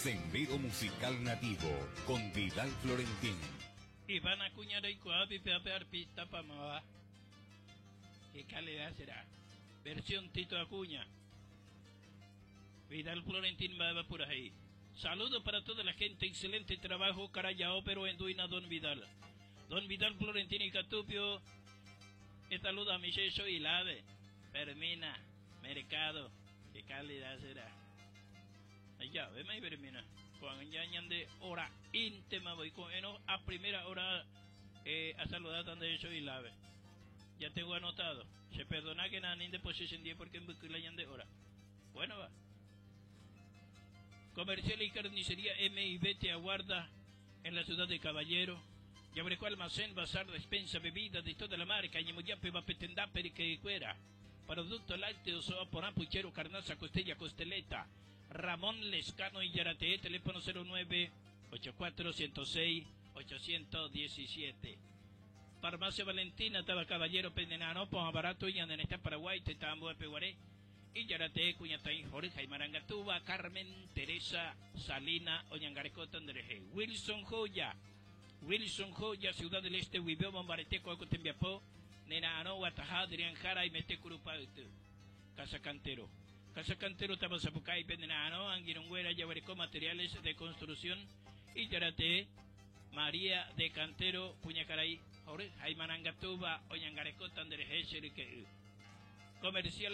Sendero Musical Nativo con Vidal Florentín. Iván Acuña reikuaa pipeápe arpista pamava. Qué calidad será. Versión Tito Acuña. Vidal Florentín mba'éva purahéi. Saludo para toda la gente, excelente trabajo Carayao pero enduina Don Vidal. Don Vidal Florentín ikatúpio esaludami che Soilave, Fermina, Mercado, qué calidad será. Ajavéma Fermina, ko'ág̃a ja ñande hora íntema voi ko'ẽrõ a primera hora eh, asaludáta nde Soilave. Ya tengo anotado. Che perdonákena ani ndepochy chendie porque mbyky la ñande hora. Bueno va. Comercial y Carnicería MIB te aguarda en la ciudad de Caballero. Jaguereko almacén, bazar, despensa, bebida de toda la marca, ñemojápeva pe tendápe ryke'ykuéra. Producto lácteo, so'a porã, puchero, carnaza, costella, costeleta. Ramón Lescano ijaratee, teléfono 09 84 106 817. Farmacia Valentina, táva Caballero, Penenarõ, Pohã Barato, ñane retã Paraguái, tetã ambuépe guare. Ijaratee kuñataĩ hory ha imarangatúva Carmen Teresa Salina oñangarekóta nderehe. Wilson Joya Wilson Joya, Ciudad del Este guive omombarete ko'ã ko tembiapo nera'arõ guataha Adrián Jara aimete Kurupa yty. Casa Cantero Casa Cantero táva Sapukáipe nera'arõ angirũnguéra jaguereko materiales de construcción Ijaratee María de Cantero kuñakarai hory ha imarangatúva oñangarekóta nderehe che ryke'y. Comercial.